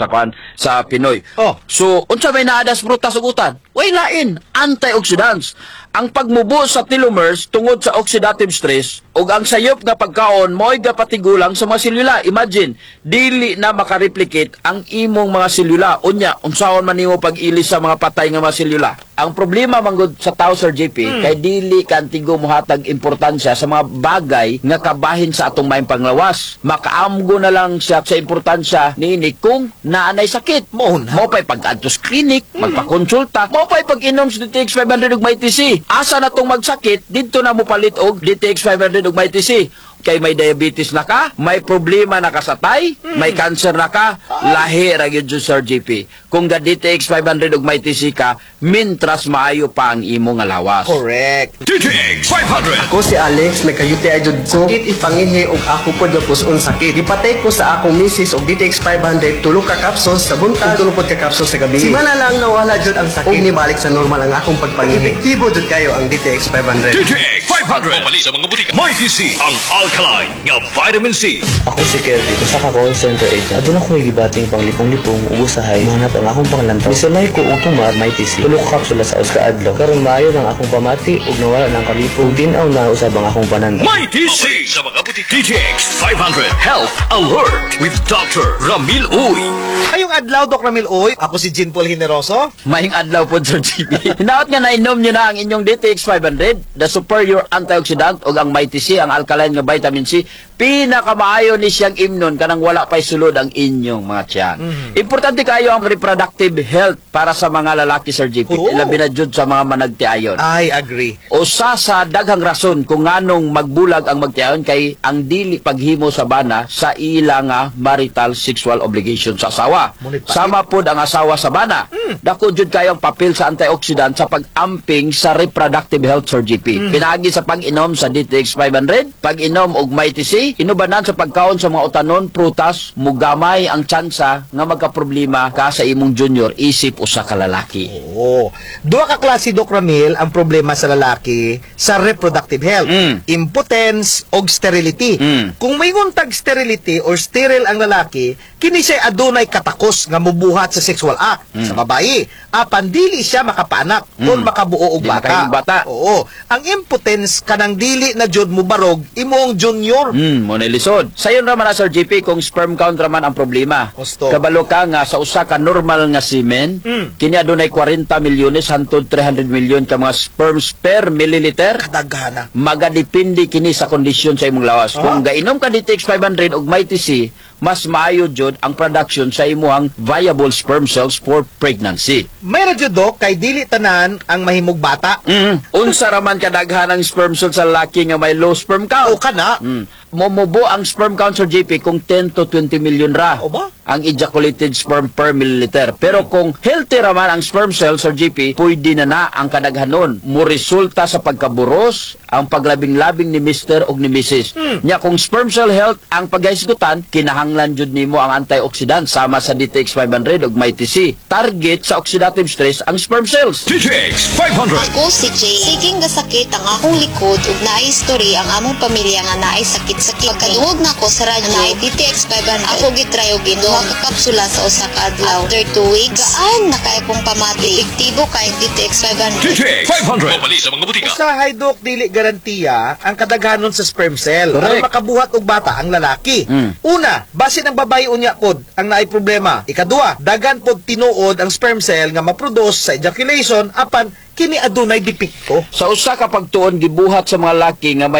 sa kwan sa Pinoy. Oh. So, unsa may naa sa prutas ug utan? Way lain, antioxidants. Ang pagmubo sa telomeres tungod sa oxidative stress ug ang sayop nga pagkaon mo'y gapatigulang sa mga selula. Imagine, dili na makareplicate ang imong mga selula. Unya, unsaon man nimo pag-ilis sa mga patay nga mga selula? Ang problema manggod sa tao, Sir JP, kay dili kantigo mohatag importansya sa mga bagay nga kabahin sa atong maayong panglawas. Makaamgo na lang siya sa importansya niini kung naanay sakit. Mao na. Mao pa'y pag-adto sa clinic, magpakonsulta, mao pa'y pag-inom sa DTX 500 ug Mighty C. Asa na tong magsakit, didto na mo palit og DTX 500 ug Mighty C. Kay may diabetes na ka, may problema na ka sa tay, may cancer na ka, lahi ra gyud, Sir JP. Kung ga DTX 500 ug Mighty C ka, mintras maayo pa ang imong nga lawas. Correct. DTX 500. Ako si Alex, may ka-UTI jud ko. Sakit ipangihi og ako pod gapuson sakit. Gipatay ko sa akong misis og DTX 500, tulo ka capsules sa buntag, tulo pod ka capsules sa gabi. Simana lang nawala jud ang sakit. Ug nibalik sa normal ang akong pagpangihi. Epektibo jud kayo ang DTX 500. DTX 500. Mabali sa mga butika. Mighty C, ang alkaline nga vitamin C. Ako si Kelvin, usa ka call center agent. Aduna ko gibating panglipong-lipong ug usahay mohanap ang akong panglantaw. Misulay ko og tumar Mighty C. Tulo ka kapsula sa usa ka adlaw. Karon maayo ang akong pamati ug nawala na ang kalipong. Tin-aw na usab ang akong panandaw. Mighty C sa mga butika. DTX 500 Health Alert with Dr. Ramil Uy. Maayong adlaw, Doc Ramil Uy. Ako si Jean Paul Generoso. Maayong adlaw po, Sir JP. Hinaot nga nainom nyo na ang inyong DTX 500, the superior antioxidant, o ang Mighty C, ang alkaline nga vitamin C. Pinakamaayo ni siyang imnon kanang wala pa'y sulod ang inyong mga tiyan. Importante kayo ang reproductive health para sa mga lalaki, Sir JP. Oo. Ilabi na jud sa mga managtiayon. I agree. Usa sa daghang rason kung nganong magbulag ang magtiayon kay ang dili paghimo sa bana sa ila nga marital sexual obligation sa asawa. Ngunit pait. Sama pod ang asawa sa bana. Dako jud kayo ang papel sa antioxidant sa pag-amping sa reproductive health, Sir GP. Pinaagi sa pag-inom sa DTX 500, pag-inom og Mighty C, inubanan sa pagkaon sa mga utanon, prutas, mugamay ang tsansa nga magkaproblema ka sa imong junior isip usa ka lalaki. Oo. Duha ka klase, Doc Ramil, ang problema sa lalaki sa reproductive health. Impotence og sterility. Kung may tag sterility or sterile ang lalaki, kini siya adunay katakos nga mubuhat sa sexual act sa babae. Apan dili siya makapaanak or makabuo og Di bata. makahimong bata. Oo. Ang impotence kanang dili na jud mubarog imong junior. Mo na lisod. Sayon ra man na, Sir JP, kung sperm count ra man ang problema. Gusto. Kabalo ka nga sa usa ka normal nga semen, kini adunay 40 milyones hantod 300 milyon ka mga sperms per milliliter. Kadaghana. Magadepende kini sa kondisyon sa imong lawas. Kung gainom ka DTX 500 ug Mighty C, mas maayo jud ang production sa imong viable sperm cells for pregnancy. May ra jud, Doc, kay dili tanan ang mahimog bata. Unsa ra man kadaghan ang sperm cells sa lalaki nga may low sperm count? O kana. Momubo ang sperm count, Sir JP, kung 10 to 20 million ra O ba? ang ejaculated sperm per milliliter. Pero kung healthy ra man ang sperm cell, Sir JP, pwede na na ang kadaghanon. Mo resulta sa pagkaburos, ang paglabing-labing ni Mr. og ni Mrs. Nya kung sperm cell health ang paghisgutan, kinahanglan jud nimo ang antioxidant sama sa DTX 500 ug Mighty C. Target sa oxidative stress ang sperm cells. DTX 500. Ako si Jay. Siging gasakit ang akong likod ug naay history ang among pamilya nga naay sakit sa kidney. Pagkadungog nako sa radyo, naay DTX 500. Ako gitry og duha ka kapsula sa usa ka adlaw. After 2 weeks, gaan na kay akong pamati. Epektibo kay DTX 500. DTX 500. Mabali sa mga butika. Usahay, Dok, dili garantiya ang kadaghanon sa sperm cell. Correct. Aron makabuhat og bata ang lalaki. Una, basin ang babae unya pod ang naay problema. Ikadua, dagan pod tinuod ang sperm cell nga maproduce sa ejaculation apan kini adunay depekto. Sa usa ka pagtuon gibuhat sa mga laki nga may